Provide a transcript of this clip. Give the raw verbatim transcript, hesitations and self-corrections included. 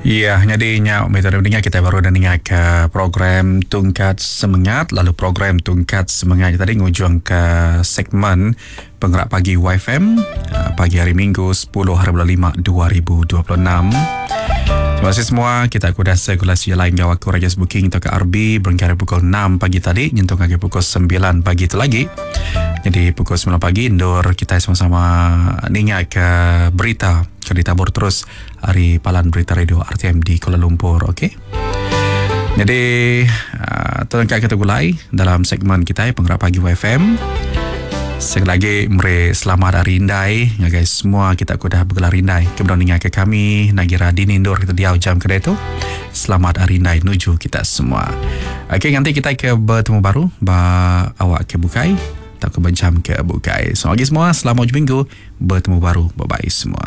Iya, jadi nya metode mendengar kita baru dan dengar ke program Tungkat Semengat, lalu program Tungkat Semengat tadi ngujung ke segmen Penggerak Pagi Y F M pagi hari Minggu sepuluh hari bulan lima dua ribu dua puluh enam. Terima kasih semua. Kita aku dah sirkulasi lain gawa aku Rajas Booking atau ke R B berengkah dari pukul enam pagi tadi nyentuh ke pukul sembilan pagi itu lagi. Jadi pukul sembilan pagi indoor kita sama-sama ningat ke berita ke ditabur terus hari Palan Berita Radio R T M di Kuala Lumpur, okey. Jadi uh, terangkat kita gulai dalam segmen kita Penggerak Pagi Y F M. Sekali lagi mere selamat hari Indai ngagai semua kita ku dah bergelar Indai. Kemudian ningat ke kami Nagira Dini Indoor kita diau jam kedai tu. Selamat hari Indai nuju kita semua. Okey, nanti kita ke bertemu baru ba awak ke bukai tak ke berjam ke bukai. Selamat pagi semua, selamat hujung minggu, bertemu baru. Bye bye semua.